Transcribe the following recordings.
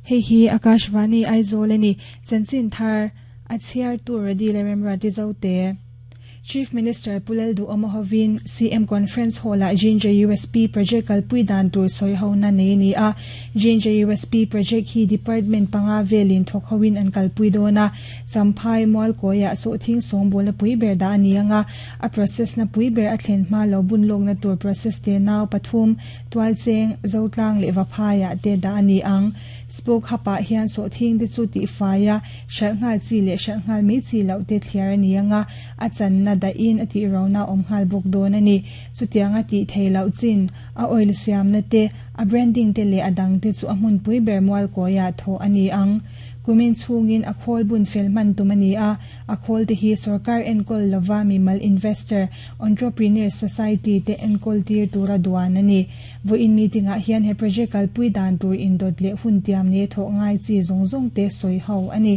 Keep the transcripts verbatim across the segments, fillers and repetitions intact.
Hei hi Akashvani Aizawl ani chanchin thar a chhiar tur radi le remra ti zote. Chief Minister Pulal Du Omohovin C M Conference Hall a Ginger U S P project kalpui dan tur soi ho na nei ni a. Ginger U S P project hi department panga velin thok hoin an kalpui dona. Champhai mual koya so thing song bola pui ber da ani anga, a process na pui ber a thlen ma lo bun lok na tur process te naw pathum twal cheng zotlang le waphaya te da ani ang. Spoke hapa hian so thing te chu ti faya shal ngal chi le shal ngal mi chi lo te thliar ani anga, a chan na da in ati rona om ngal bok don ani. Chutianga ti theilo chin a oil siam na te, a branding te le adang te chu a hmun pui ber mual koya tho ani ang. Kumin chungin a khol bun fel man tum ani a. A khol te hi sarkar enkol lova mi mal investor entrepreneur society te enkol tir tura duan ani. Vo in meeting a hian he project kal pui dan tur in dot le hun tiam ne tho ngai chi zong zong te soi ho ani.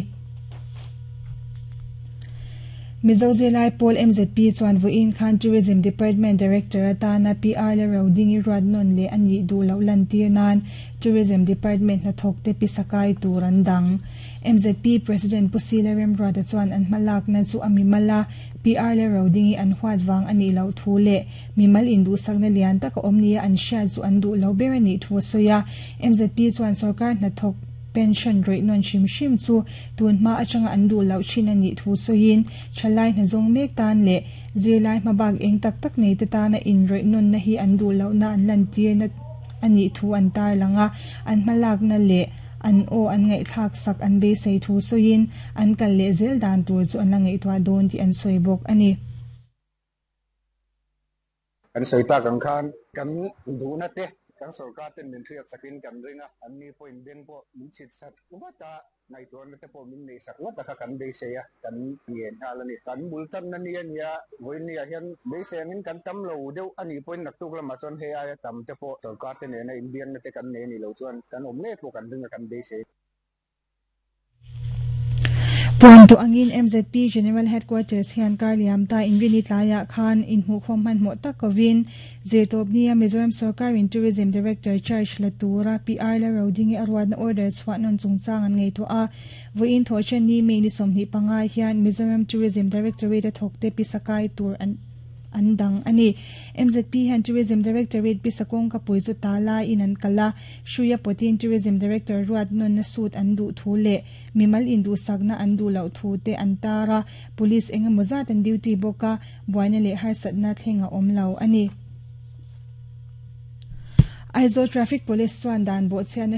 Mizo Zilai Paul M Z P chuan vuin khan Tourism Department Director atana P R le roding i ruat non le ani du lo lan tir nan Tourism Department na thok te pisakai turan dang. M Z P President Pusila Remrata chuan an malak na chu ami mala P R le roding i an huat wang ani lo thu le mimal indu sakna lian taka omnia an sha chu an du lo ber ani thu soya. M Z P chuan sarkar na thok pension rate non shim shim chu tun ma atanga an du lo chin ani thu soin thalai na zong mek tan le zilai ma bag eng tak tak nei te ta na in rate non na hi an du lo na an lan tir na ani thu an tar langa. An malak na le an o an ngai thak sak an be sei thu soin an kal le zel dan tur chu an la ngai thwa don ti an soi bok ani. Kan soi ta kan khan kan du na te kan sarkar ten min thiat sakin kan ringa, an ni point beng po min chit sat wata ngai tuan te po min nei sak wata kha kan be se ya kan ngen halani kan bul tan na ni ania voin ni a hian be se ngin kan tam lo deuh ani point nak tuk lama chuan he aya tam te po sarkar te ne na indian na te kan ne ni lo chuan kan om nge po kan ringa kan be se. Puan tu angin M Z P General Headquarters hian karliam ta inrini tlaya khan in hmu khom man mo takovin zirtop nia Mizoram Sarkar in Tourism Director Charge Latura P R la roding arwad na order chwa non chungchang an ngei to a. Voin tho chen ni me ni somni panga hian Mizoram Tourism Directorate thokte pisakai tur an andang ani. M Z P han Tourism Directorate pisakong ka puizu tala in an kala shuya potin Tourism Director ruat non na suit an du thu le mimal indu sagna an du lo thu te antara. Police enga mozat an duty boka buaina le har satna thlenga om lo ani. Aizawl Traffic Police chuan dan bo chhiatna